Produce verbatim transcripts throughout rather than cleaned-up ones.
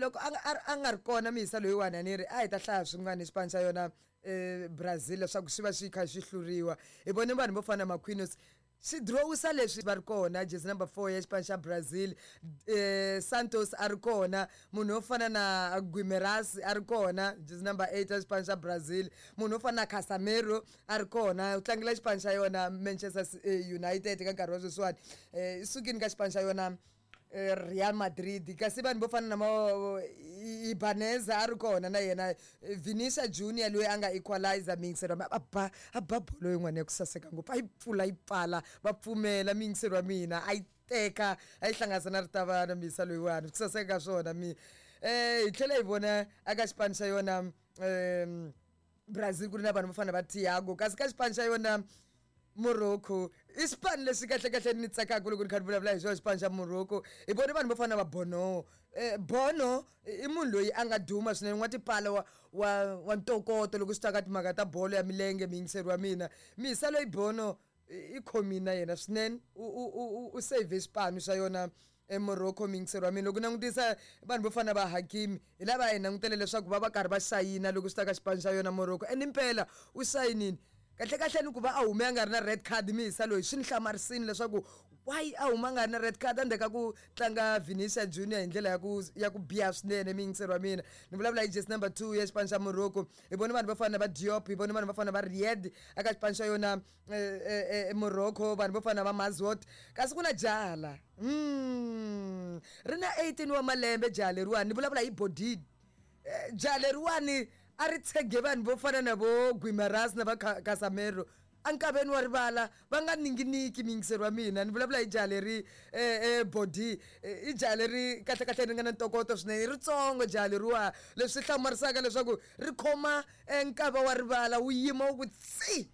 Loko a nga a nga ri kona miyisa loyiwani, a ni ri a hi ta hlaya swin'wana hi xipano xa yona um Brazil leswaku xi va xi kha xi hluriwa. Hi vone vanhu vo fana na Marquinhos xi drowisa leswi va ri kona, jersey number four ya xipano xa Brazil, eh Santos a ri kona, munhu wo fana na Guimarães a ri kona, jersey number eight ya xipano xa Brazil, munhu wo fana na Casemiro a ri kona, u tlangela xipano xa yona Manchester United ka nkarhi wa sweswiwani, eh i sukile ka xipano xa yona Real Madrid. Kasi vanhu vo fana na ma Ibanez a ri kona na yena, Vinicius Junior loyi a nga equalizer miyingiselo a ba a ba bolo yin'wana ya ku saseka ngopfu, a yi pfula yi pfala va pfumela miyingiselo wa mina, a yi teka a yi hlanganisa na ritavana miyisa loyiwani, ku saseka ka swona mi. eh hi tlhela hi vona aka xipano xa yona um Brazil ku ri na vanhu vo fana va Thiago, kasi ka xipano xa yona Morocco i xipano lexi kahle kahle ni tsakaka loko ni kha ni vulavula hi xona xipano xa Morocco. Hi vone vanhu vo fana na va Bono, eh Bono i munhu loyi a nga duma swinene, n'wa tipala wa wa wa ntokoto loko swi ta ka timhaka ta bolo ya milenge. Miyingiseri wa mina, miyisa loyi Bono i khomile na yena swinene, u u u save xipano xa yona eMorocco. Miyingiseri wa mina, loko langutisa vanhu vo fana va Hakimi, hi lava hi langutele leswaku va va karhi va sayina loko swi ta ka xipano xa yona Morocco, and impela u sayinini. Kahle kahle ni ku va a hume a nga ri na red card miyisa loyi, swi ni hlamarisini leswaku why a huma a nga ri na red card endzhaku ka ku tlanga Vinicius Junior hi ndlela ya ku ya ku biha swinene. Miyingiseri wa mina, ni vulavula hi jersey number two ya xipano xa Morocco. Hi vone vanhu vo fana na va Diop, hi vone vanhu vo fana na va Riyad eka xipano xa yona Morocco, vanhu vo fana na va Mazraoui. Kasi ku na jaha la mm ri na eighteen wa malembe jaha leriwani, ni vulavula hi Bouaddi. Jaha leriwani a ri tshege vanhu vo fana na vo Guimarães na va Casemiro enkaveni wa rivala, va nga ninginiki. Miyingiseri wa mina, ni vulavula hi jaha leri eh Bouaddi, i jaha leri kahle kahle ri nga na ntokoto swinene, ritsongo jaha leriwa, leswi hlamarisaka leswaku ri khoma nkava wa rivala wu yima wu ku tsi,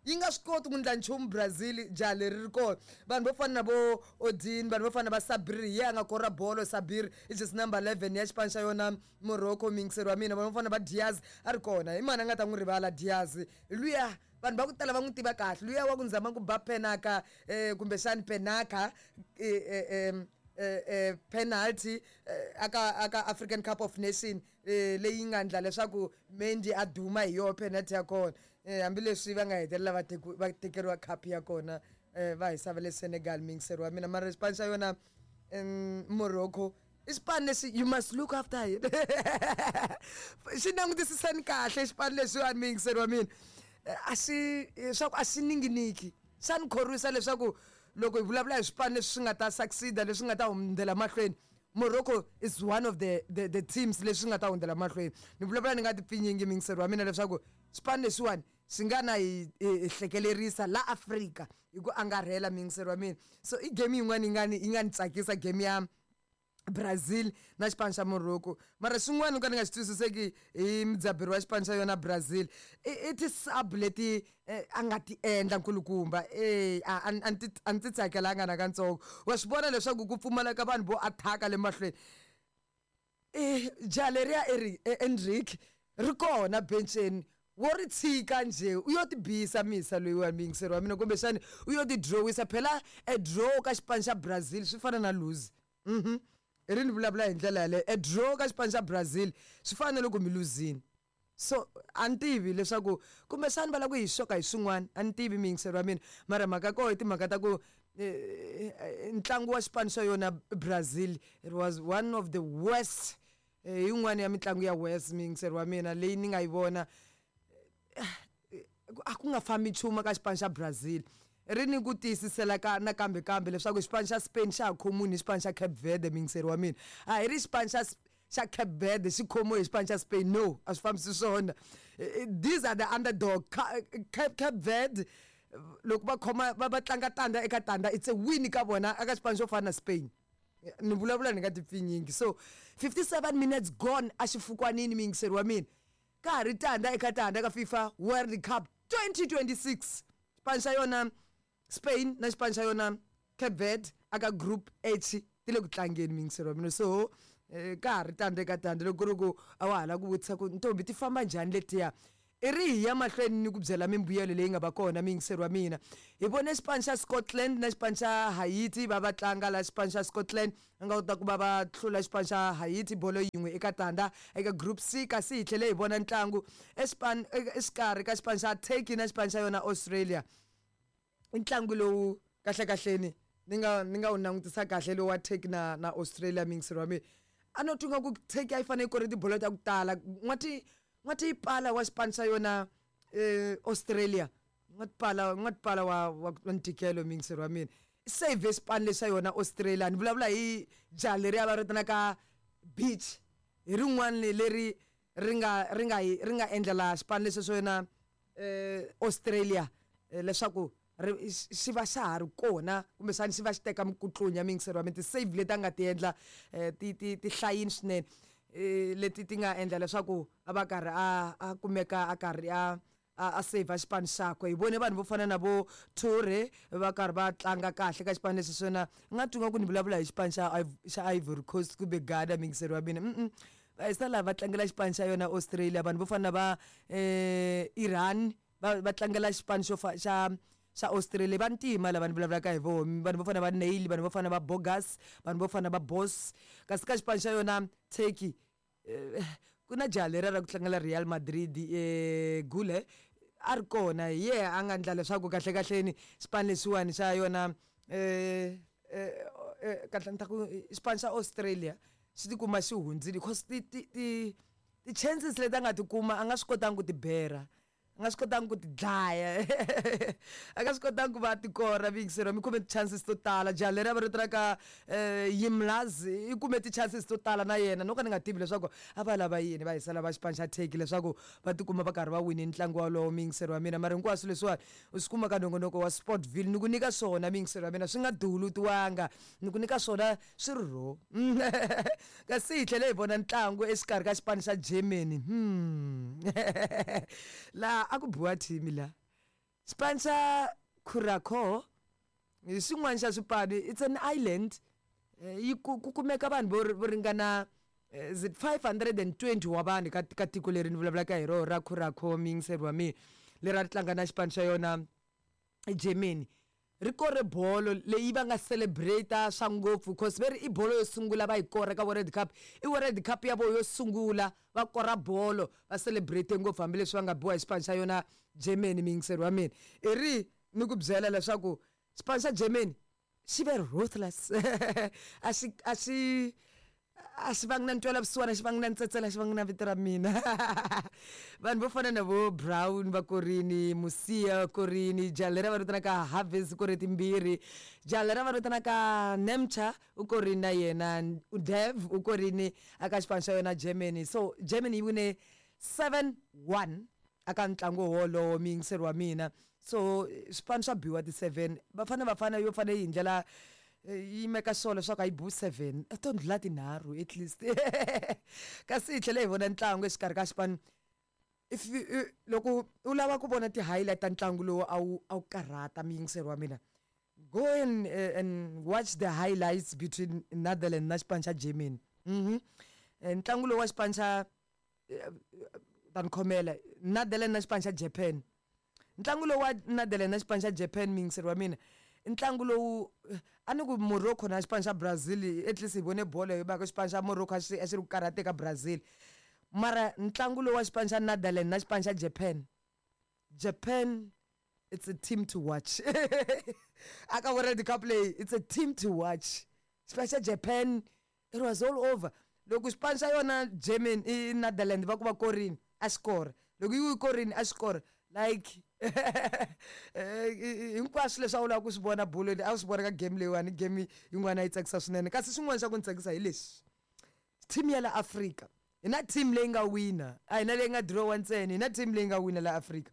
yi nga swi koti ku ndla nchumu Brazil jaha leri ri kona. Vanhu vo fana na vo Odin, vanhu vo fana na va Sabiri, hi yena a nga kora bolo. Sabiri i jersey number eleven ya xipano xa yona Morocco. Miyingiseri wa mina, vanhu vo fana na va Diaz a ri kona, hi mani a nga ta n'wi rivala Diaz luya? Vanhu va ku tala va n'wi tiva kahle luya wa ku nzama ku ba penaka, eh kumbexani penaka, eh eh penalty aka aka African Cup of Nation leyi nga ndla leswaku Mendy a duma hi yona penalty ya kona, hambileswi va nga hetelela va va tekeriwa cup ya kona va hisa va le Senegal. Miyingiseri wa mina, mara xipano xa yona Morocco i xipano lexi you must look after it, xi langutisiseni kahle xipano lexiwani. Miyingiseri wa mina, a xi swa ku a xi ninginiki, xa ni khorwisa leswaku loko hi vulavula hi swipano leswi swi nga ta succeed-a, leswi nga ta hundzela mahlweni, Morocco is one of the the, the teams leswi nga ta hundzela mahlweni. Ni vulavula ni nga ti pfinyingi, miyingiseri wa mina, leswaku xipano lexiwani xi nga na hi hi hlekelerisa la Afrika hi ku angarhela. Miyingiseri wa mina, so i game yin'wana yi nga ni yi nga ni tsakisa, game ya Brazil na xipano xa Morocco. Mara xin'wana ka ni nga xi twisiseki hi mudzaberi wa xipano xa yona Brazil i i ti-sub leti a nga ti endla nkulukumba, e a a ni a ni ti tsakelanga nakantsongo. Wa swi vona leswaku ku pfumaleka vanhu vo attack-a le mahlweni. E jaha leriya Endrick ri kona benceni, wo ri tshika njhe u yo tibisa misa loyiwani? Miyingiseri wa mina, kumbexani u yo ti drawisa phela. E draw ka xipano xa Brazil swi fana na lose. Mhm i ri ni vulavula hi ndlela yaleyo, e draw ka xipano xa Brazil swi fana na loko mi luzini. So a ni tivi leswaku kumbexani va lava ku hi xoka hi swin'wana, a ni tivi, miyingiseri wa mina. Mara mhaka koho i timhaka ta ku ntlangu wa xipano xa yona Brazil, it was one of the worst, yin'wana ya mitlangu ya worst, miyingiseri wa mina, leyi ni nga yi vona. A ku nga fambi nchumu ka xipano xa Brazil. Ri ni ku tiyisisela ka nakambe kambe leswaku xipano xa Spain xa ha khomiwi hi xipano xa Cape Verde. Miyingiseri wa mina, a hi ri xipano xa xa Cape Verde xi khomiwe hi xipano xa Spain, no, a swi fambisi swona. These are the underdog, Cape, Cape Verde. Loko va khoma va va tlanga tanda eka tanda, it's a win ka vona aka xipano xo fana na Spain. Ni vulavula ni nga ti pfinyingi. So fifty-seven minutes gone a xifukwanini, miyingiseri wa mina, ka ha ri tanda eka tanda ka FIFA World Cup twenty twenty-six, xipano xa yona Spain na xipano xa yona Cape Verde aka Group H ti le ku tlangeni, miyingiseri wa mina. So eh, ka ha ri tanda eka tanda. Loko ku ri ku a wa ha lava ku vutisa ku ntombi ti famba njhani letiya I ri hi ya mahlweni ni ku byela mimbuyelo leyi nga va kona miyingiseri wa mina. Hi vone xipano xa Scotland na xipano xa Haiti va va tlanga la. Xipano xa Scotland va nga kota ku va va hlula xipano xa Haiti bolo yin'we eka tandza eka Group C. Kasi hi tlhele hi vona ntlangu exipano exikarhi ka xipano xa Turkey na xipano xa yona Australia. I ntlangu lowu kahlekahleni ni nga ni nga wu langutisa kahle lowu wa Turkey na na Australia, miyingiseri wa mina. A no twa nga ku Turkey a yi fanele yi kore tibolo ta ku tala. N'wati n'wati pala wa xipano xa yona eh Australia, n'wati pala n'wati pala wa wa ntikelo, miyingiseri wa mina. Save xipano lexi xa yona Australia. Ni vulavula hi jaha leriya va vitanaka Beach, hi rin'wana leri ri nga ri nga ri nga endlela xipano lexi xo yona eh Australia leswaku xi va xa ha ri kona, kumbexana xi va xi teka mikutlunya, miyingiseri wa mina. Ti-save leti a nga ti endla ti ti ti hlayini swinene, leti ti nga endla leswaku a va karhi a a kumeka a karhi a a save xipano xakwe. Hi vone vanhu vo fana na vo Toure va karhi va tlanga kahle ka xipano lexi swona. Nga twi nga ku ni vulavula hi xipano xa xa Ivory Coast kumbe Ghana, miyingiseri wa mina. Mm va hisa laha va tlangela xipano xa yona Australia. Vanhu vo fana na va eh Iran va va tlangela xipano xo xa xa Australia. Vantima lava ni vulavulaka hi vona, vanhu vo fana va Nail, vanhu vo fana va Bogas, vanhu vo fana va Boss. Kasi ka xipano xa yona Turkey ku na jaha leriya ra ku tlangela Real Madrid, eh Gule a ri kona. Hi yehe a nga endla leswaku kahle kahleni xipano lexiwani xa yona eh kahle ni ta ku xipano xa Australia xi tikuma xi hundzile, because ti ti ti ti-chances leti a nga ti kuma a nga swi kotangi ku ti bera, a nga swi kotangi ku ti dlaya, a nga swi kotangi ku va tikora. Miyingiseri, mi kume ti-chances to tala. Jaha leri a va ri ka Yilmaz i kume ti-chances to tala na yena. No ka ni nga tivi leswaku a va lava yini va hisela va xipano xa Turkey leswaku va tikuma va karhi va wine ntlangu wolowo, miyingiseri wa mina. Mara hinkwaswo leswiwani u swi kuma ka nongonoko wa Sportville. Ni ku nyika swona, miyingiseri wa mina, swi nga dulutiwanga, ni ku nyika swona swi ri raw. Kasi hi tlhele hi vona ntlangu exikarhi ka xipano xa Germany. hmm laha a ku biwa team la xipano xa Curacao hi xin'wana xa swipano. It's an island, yi ku kumeka vanhu vo vo ringana, is it five hundred and twenty wa vanhu ka ka tiko leri ni vulavulaka hi rona ra Curacao, miyingiseri wa mina, leri a ri tlanga na xipano xa yona Germany. Ri kore bolo leyi va nga celebrate swa ngopfu, cause ve ri i bolo yo sungula va yi kora ka World Cup. I World Cup ya vo yo sungula va kora bolo, va celebrate ngopfu hambileswi va nga biwa hi xipano xa yona Germany, miyingiseri wa mina. I ri ni ku byela leswaku xipano xa Germany xi ve ruthless, a xi a xi a xi vangi na ntwela vusiwana, xi vangi na ntsetsela, xi vangi na vito ra mina. Vanhu vo fana na vo Brown va korini, Musia korini, jaha leri va vitanaka Harvest kore timbirhi, jaha leri va vitanaka Nemcha u korini na yena, Dev u korini aka xipano xa yona Germany. So Germany yi wine seven one aka ntlangu wolowo, miyingiseri wa mina. So swipano swa biwa ti seven, Bafana Bafana yo fanele yi ndlela yi meka sure leswaku a yi biwi seven, to ndlula tinharhu at least. Kasi hi tlhele hi vona ntlangu exikarhi ka xipano. If loko u lava ku vona ti-highlight ta ntlangu lowu a wu a wu karhata, miyingiseri wa mina, go and, uh, and watch the highlights between Netherlands na xipano xa Germany. Mhm ntlangu lowu wa xipano xa, ta ni khomela, Netherlands na xipano xa Japan. Ntlangu lowu wa Netherlands na xipano xa Japan, miyingiseri wa mina, ntlangu lowu a ni ku Morocco na xipano xa Brazil, at least hi vone bolo hi mhaka xipano xa Morocco a xi a xi ri ku karhateka Brazil. Mara ntlangu lowu wa xipano xa Netherlands na xipano xa Japan, Japan, it's a team to watch aka World Cup leyi. It's a team to watch, xipano xa Japan. It was all over. Loko xipano xa yona Germany i Netherlands va ku va korini, a xi kora. Loko yi korini, a xi kora. Like hinkwaswo leswi a wu lava ku swi vona bolweni a wu swi vona ka game leyiwani. Game yin'wana yi tsakisa swinene. Kasi xin'wana xa ku ni tsakisa hi lexi, team ya la Afrika, hi na team leyi nga wina, a hi na leyi nga dirowa ntsena, hi na team leyi nga wina la Afrika.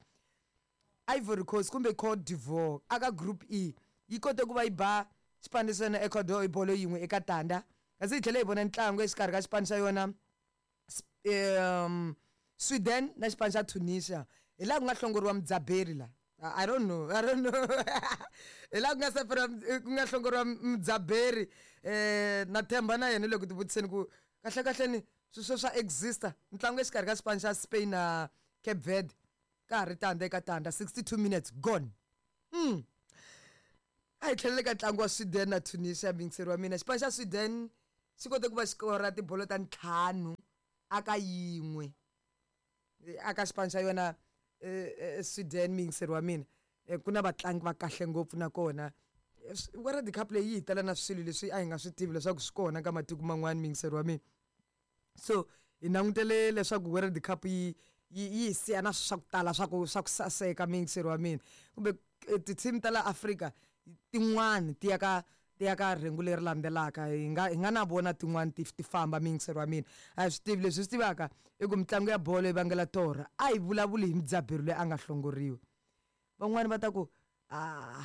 Ivory Coast kumbe Cote d'Ivoire aka Group E yi kote ku va yi ba xipano xa yona Ecuador hi bolo yin'we eka tanda. Kasi hi tlhela hi vona ntlangu exikarhi ka xipano xa yona um Sweden na xipano xa Tunisia. Hi laha ku nga hlongoriwa mudzaberi la. I don't know, I don't know. Hi laha ku nga seferiwa ku nga hlongoriwa mudzaberi, eh na themba na yena loko tivutiseni ku kahle kahle ni sweswo swa exista. Ntlangu exikarhi ka xipano xa Spain na Cape Verde. Ka ha ri tandza eka tandza, sixty-two minutes gone. Hmm. A hi tlhelele ka ntlangu wa Sweden na Tunisia, muyingiseri wa mina. Xipano xa Sweden xi kote ku va xi kora tibolo ta ntlhanu aka yin'we aka xipano xa yona Sweden, muyingiseri wa mina. Ku na vatlangi va kahle ngopfu nakona World Cup leyi yi hi tela na swilo leswi a hi nga swi tivi leswaku swi kona ka matiko man'wani, muyingiseri wa mina. So hi langutele leswaku World Cup yi yi yi hi siya na swa ku tala swa ku swa ku saseka, muyingiseri wa mina, kumbe ti-team ta la Afrika tin'wani ti ya ka ti ya ka rhengu leri landzelaka, hi nga hi nga na vona tin'wani ti ti famba, muyingiseri wa mina. A hi swi tivi, leswi hi swi tivaka i ku mitlangu ya bolo yi vangela torha. A hi vulavuli hi mudzaberi loyi a nga hlongoriwa. Van'wani va ta ku a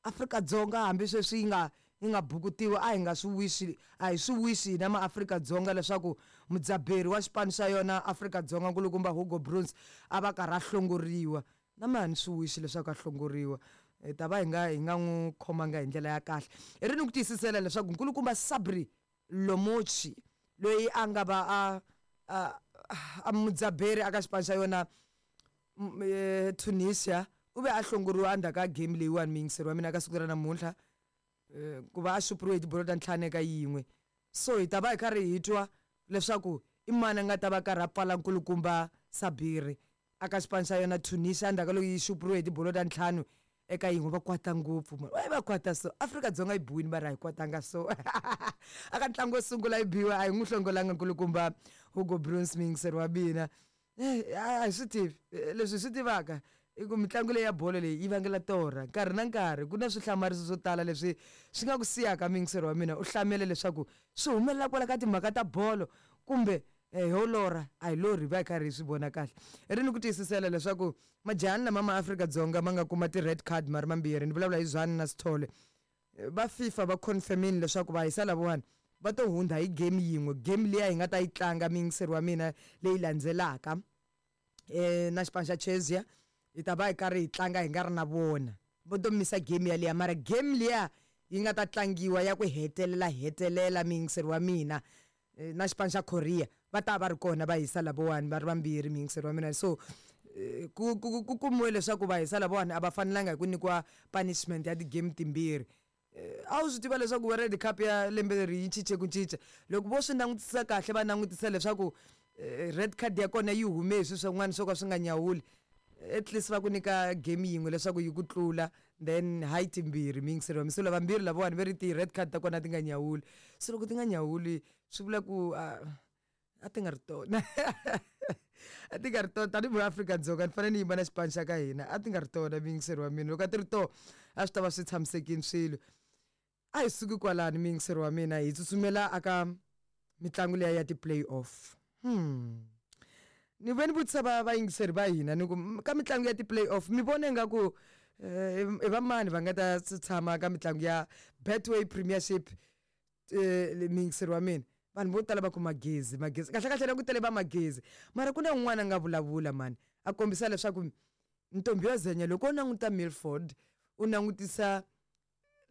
Afrika-Dzonga hambi sweswi yi nga yi nga bukutiwa, a hi nga swi wisi, a hi swi wisi hina maAfrika-Dzonga leswaku mudzaberi wa xipano xa yona Afrika-Dzonga nkulukumba Hugo Broos a va karhi a hlongoriwa. Na mehe a ni swi wisi leswaku a hlongoriwa, hi ta va hi nga hi nga n'wi khomanga hi ndlela ya kahle. Hi ri ni ku tiyisisela leswaku nkulukumba Sabri Lomochi loyi a nga va a a a mudzaberi aka xipano xa yona Tunisia u ve a hlongoriwa endzhaku ka game leyiwani, muyingiseri wa mina, ka siku ra namuntlha, ku va a xupuriwe hi tibolo ta ntlhanu eka yin'we. So hi ta va hi karhi hi twa leswaku i mani a nga ta va karhi a pfala nkulukumba Sabiri aka xipano xa yona Tunisia endzhaku ka loko yi xupuriwe hi tibolo ta ntlhanu eka yin'we. Va kwata ngopfu mani, va kwata so Afrika-Dzonga yi biwile mara a hi kwatanga so. Aka ntlangu wo sungula yi biwa, a hi n'wi hlongolanga nkulukumba Hugo Broos, muyingiseri wa mina. A hi swi tivi, leswi hi swi tivaka i ku mitlangu leyi ya bolo leyi yi vangela torha nkarhi na nkarhi. Ku na swihlamariso swo tala leswi swi nga ku siyaka, muyingiseri wa mina, u hlamele leswaku swi humelela kwala ka timhaka ta bolo kumbe ho lorha a hi lorhi, hi va hi karhi hi swi vona kahle. Hi ri ni ku tiyisisela leswaku majahani lama ma Afrika-Dzonga ma nga kuma ti-red card ma ri mambirhi, ni vulavula hi Zwane na Sithole, va FIFA va confirmini leswaku va hisa lavawani va to hundza hi game yin'we, game liya hi nga ta yi tlanga, muyingiseri wa mina, leyi landzelaka eh na xipano xa Chelsea, hi ta va hi karhi hi tlanga hi nga ri na vona. Vo to misa game yaliya, mara game liya yi nga ta tlangiwa ya ku hetelela hetelela, muyingiseri wa mina, na xipano xa Korea va ta va ri kona va hisa lavawani va ri vambirhi, muyingiseri wa mina. So ku ku ku kumiwe leswaku va hisa lavawani a va fanelanga hi ku nyikiwa punishment ya ti-game timbirhi. A wu swi tiva leswaku World Cup ya lembe leri yi cince ku cinca? Loko vo swi langutisa kahle, va langutisa leswaku red card ya kona yi hume hi swilo swin'wana swo ka swi nga nyawuli, at least va ku nyika game yin'we leswaku yi ku tlula, then hayi timbirhi, muyingiseri wa mina. So lavambirhi lavawani ve ri ti-red card ta kona ti nga nyawuli, so loko ti nga nyawuli swi vula ku a ti nga ri tona, a ti nga ri tona. Tanihi Afrika-Dzonga ni fanele ni yima na xipano xa ka hina, a ti nga ri tona, muyingiseri wa mina. Loko a ti ri tona a swi ta va swi tshamisekile swilo. A hi suki kwalani, muyingiseri wa mina, hi tsutsumela aka mitlangu liya ya ti-play off. Hmm. Ni ve ni vutisa va vayingiseri va hina ni ku ka mitlangu ya ti-play off mi vona ingaku i va mani va nga ta tshama ka mitlangu ya Betway Premiership, muyingiseri wa mina? Vanhu vo tala va ku Magezi, Magezi kahle kahle na ku tele va Magezi, mara ku na un'wana a nga vulavula mani a kombisa leswaku ntombi yo zenya loko u languta Milford, u langutisa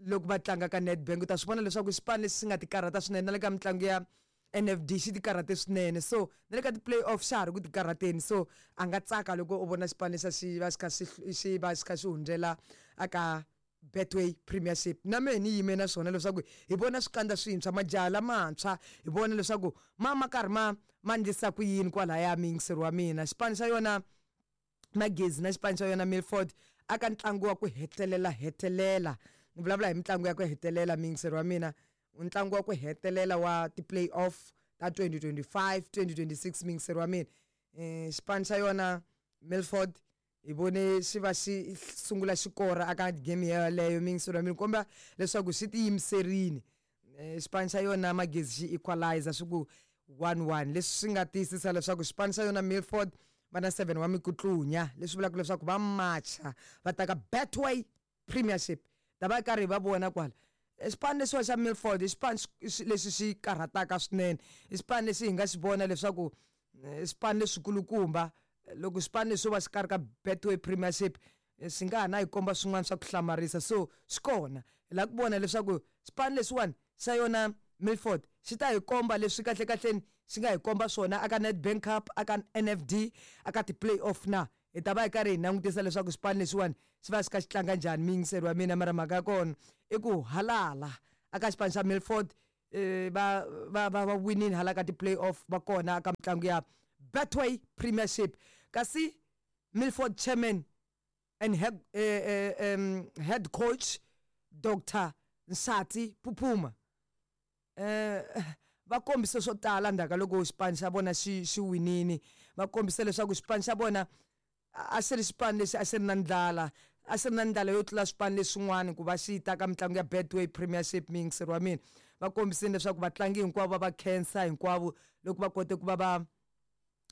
loko va tlanga ka Nedbank, u ta swi vona leswaku xipano lexi xi nga ti karhata swinene na le ka mitlangu ya N F D xi ti karhate swinene, so na le ka ti-play off xa ha ri ku ti karhateni. So a nga tsaka loko u vona xipano lexa xi va xi kha xi xi va xi kha xi hundzela aka Betway Premiership. Na mehe ni yime na swona leswaku hi vona swikandza swintshwa, majaha lamantshwa, hi vona leswaku ma ma karhi ma ma endlisa ku yini kwalaya, muyingiseri wa mina. Xipano xa yona Magezi na xipano xa yona Milford aka ntlangu wa ku hetelela hetelela, ni vulavula hi mitlangu ya ku hetelela, muyingiseri wa mina, ntlangu wa ku hetelela wa ti-play off ta twenty twenty-five twenty twenty-six, muyingiseri wa mina. Xipano xa yona Milford hi vone xi va xi sungula xikora aka game yaleyo, muyingiseri wa mina, komba leswaku xi tiyimiserile. Xipano xa yona Magezi xi equalizer swi ku one one, leswi swi nga tiyisisa leswaku xipano xa yona Milford va na seven wa mikutlunya, leswi vulaka leswaku va macha va ta ka Betway Premiership. Ta va karhi va vona kwala xipano lexiwa xa Milford i xipano lexi xi karhataka swinene, i xipano lexi hi nga xi vona leswaku xipano lexikulukumba loko xipano lexi xo va xi karhi ka Betway Premiership swi nga ha na hi komba swin'wana swa ku hlamarisa. So swi kona hi lava ku vona leswaku xipano lexiwani xa yona Milford xi ta hi komba leswi kahle kahleni xi nga hi komba swona aka Nedbank Cup, aka N F D, aka ti-play off na. Hi ta va hi karhi hi langutisa leswaku xipano lexiwani xi va xi kha xi tlanga njhani, muyingiseri wa mina. Mara mhaka ya kona i ku halala aka xipano xa Milford eh, va va va va winini hala ka ti-play-off va kona ka mitlangu ya Betway Premiership. Kasi Milford chairman and head, eh, eh, um, head coach Doctor Nsati Phuphuma eh va kombise swo tala ndzhaku ka loko xipano xa vona xi xi winini. Va kombise leswaku xipano xa vona a xi ri xipano lexi a xi ri na ndlala, a xi ri na ndlala yo tlula swipano leswin'wana ku va xi ta ka mitlangu ya Betway Premiership. Muyingiseri wa mina, va kombisile leswaku vatlangi hinkwavo va va khensa hinkwavo loko va kote ku va va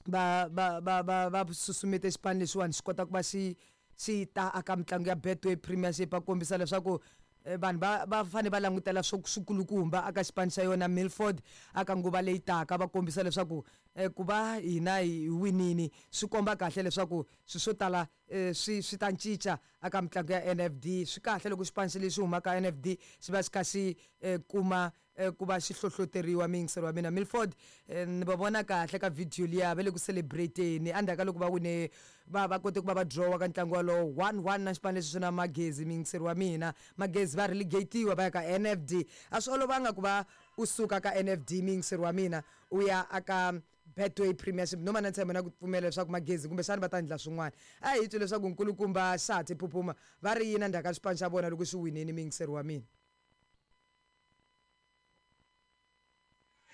va va va va va susumete xipano lexiwani xi kota ku va xi xi ta aka mitlangu ya Betway Premiership. Va kombisa leswaku eh, vanhu va va fanele va langutela swo swikulukumba aka xipano xa yona Milford aka nguva leyi taka. Va kombisa leswaku eh, ku va hina hi winini swi komba kahle leswaku swilo swo tala eh, swi swi ta cinca aka mitlangu ya N F D. Swi kahle loko xipano xi lexi humaka N F D xi va xi kha xi eh, kuma eh, ku va xi hlohloteriwa. Muyingiseri wa mina, Milford eh, ni va vona kahle ka video liya va le ku celebrateni endzhaku ka loko va wine, va va kote ku va va drawa ka ntlangu walowo one one na xipano lexi swi na Magezi. Muyingiseri wa mina, Magezi va relegatiwa va ya ka N F D. A swi olovanga ku va u suka ka N F D, muyingiseri wa mina, u ya aka Betway Premiership. Noma na ntshembo na ku pfumela leswaku Magezi kumbexana va ta endla swin'wana. A hi twi leswaku nkulukumba Xati Phuphuma va ri yini endzhaku ka xipano xa vona loko xi winini, muyingiseri wa mina.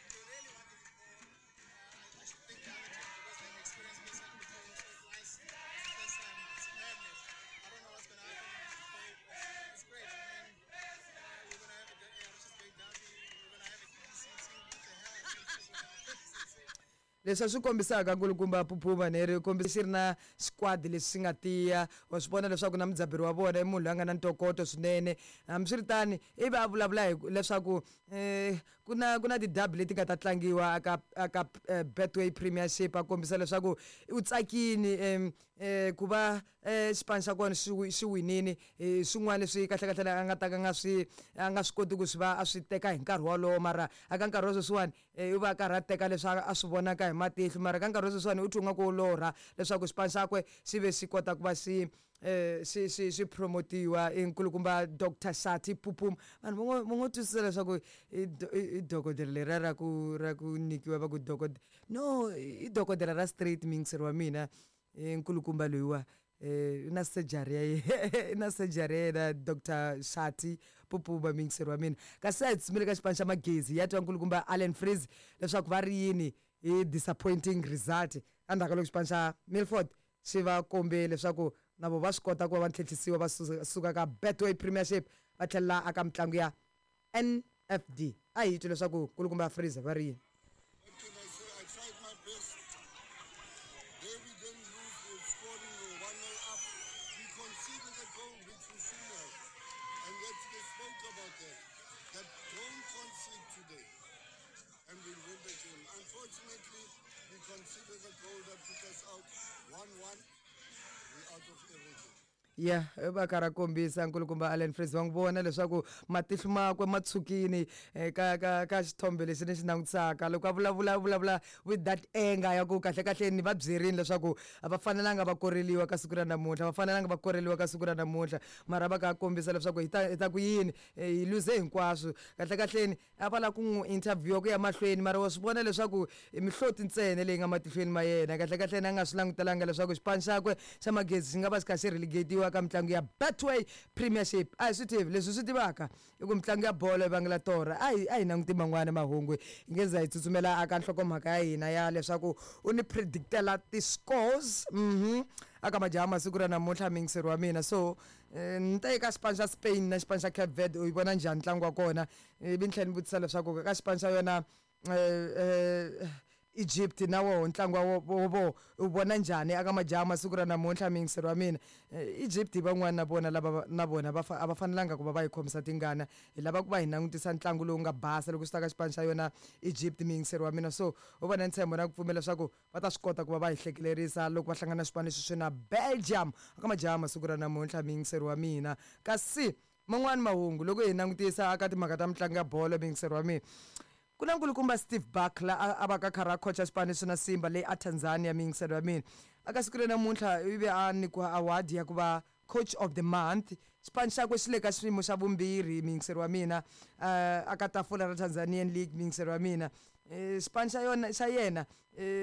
They really wanted it there. Uh, I should thank the other team because they've experienced this one before. So for us, it's the first time. It's madness. I don't know what's going to happen today. It's great. I mean, uh, we're going to have a, uh, Richards Bay derby. We're going to have a D C C. What the hell? D C C. Leswi a swi kombisaka nkulukumba Phuphuma neri kombisa xi ri na squad lexi xi nga tiya. Wa swi vona leswaku na mudzaberi wa vona i munhu loyi a nga na ntokoto swinene. Hambiswiritani ivi a vulavula hi leswaku um ku na ku na ti-derby leti nga ta tlangiwa aka aka eh, Betway Premiership. A kombisa leswaku u tsakini um um ku va um xipano xa kona xi wi- xi winini hi swin'wana leswi kahlekahle a nga ta ka nga swi a nga swi koti ku swi va a swi teka hi nkarhi wolowo. Mara aka nkarhi wa sweswiwani eh, u va a karhi a teka leswi a a swi vonaka hi matihlo, mara ka nkarhi wa sweswiwani u twa nga ku u lorha leswaku xipano xakwe xi ve xi kota ku va xi eh xi xi xi promotiwa i nkulukumba Doctor Shati Phuphuma. Vanhu va ngo va ngo twisisa leswaku i do- i i dokodela leriya ra ku ra ku nyikiwa va ku dokodela. No, i dokodela ra straight, muyingiseri wa mina. I nkulukumba loyiwa eh i na surgery ya ye i na surgery ya yena Doctor Shati Phuphuma, muyingiseri wa mina. Kasi a hi tshumile ka xipano xa Magezi, ya twa nkulukumba Allen Freeze leswaku va ri yini hi disappointing result endzhaku ka loko xipano xa Milford xi va kombe leswaku na vo va swi kota ku va va tlhentlhisiwa va suka suka ka Betway Premiership va tlhelela aka mitlangu ya N F D. A hi twi leswaku nkulukumba Freeze va ri yini. What can I say? I tried my best. There we didn't lose. We were scoring, we were one nil up. We conceded a goal, which we shouldn't have. And yet they spoke about that. That don't concede today. And we'll win the game. Unfortunately, we conceded a goal that put us out one one. We're out of everything. Ya, va karhi a kombisa nkulukumba Allen Freeze, va n'wi vona leswaku matihlo makwe ma tshukini eh, ka ka ka xithombe lexi ni xi langutisaka loko a vulavula, vulavula with that anger ya ku kahle kahle ni va byerini leswaku a va fanelanga va koreliwa ka siku ra namuntlha, va fanelanga va koreliwa ka siku ra namuntlha. Mara va kha a kombisa leswaku hi ta hi ta ku yini, eh, hi luze hinkwaswo. Kahle kahleni a va lava ku n'wi interview ku ya mahlweni, mara wa swi vona leswaku i mihloti ntsena leyi nga matihlweni ma yena. Kahle kahleni a nga swi langutelanga leswaku xipano xakwe xa Magezi xi nga va xi kha xi relegatiwa ka mitlangu ya Betway Premiership. A hi swi tivi leswi swi tivaka i ku mitlangu ya bolo yi vangela torha. A hi a hi languti man'wani mahungu, hi nge za hi tsutsumela aka nhlokomhaka ya hina ya leswaku u ni predictela ti-scores mhm aka majaha masiku ra namuntlha, muyingiseri wa mina. So eh, ni ta eka xipano xa Spain na xipano xa Cape Verde, u yi vona njhani ntlangu wa kona? Ivi ni tlhela ni vutisa leswaku ka xipano xa yona eh, eh, Egypt na woho ntlangu wa wo wo vo u vona njhani aka majaha masiku ra namuntlha, muyingiseri wa mina? Eh, Egypt hi van'wani na vona lava va- na vona va fa- a va fanelanga ku va va yi khomisa tingana. Hi lava ku va hi langutisa ntlangu lowu nga basa loko swi ta ka xipano xa yona Egypt, muyingiseri wa mina. So u va na ntshembo na ku pfumela leswaku va ta swi kota ku va va hi hlekelerisa loko va hlangana na xipano lexi swi na Belgium aka majaha masiku ra namuntlha, muyingiseri wa mina. Kasi man'wani mahungu loko hi langutisa aka timhaka ta mitlangu ya bolo, muyingiseri wa mina. Ku na nkulukumba Steve Barker a a va ka karhi a khocha xipano xo na Simba leyi a Tanzania, miyingiselo ya mina. Aka siku ra namuntlha i ve a nyikiwa award ya ku va coach of the month. Xipano xakwe xi le ka xiyimo xa vumbirhi, miyingiselo wa mina, uh, aka tafula ra Tanzanian League, miyingiselo wa mina. Eh, xipano xa yona xa yena eh,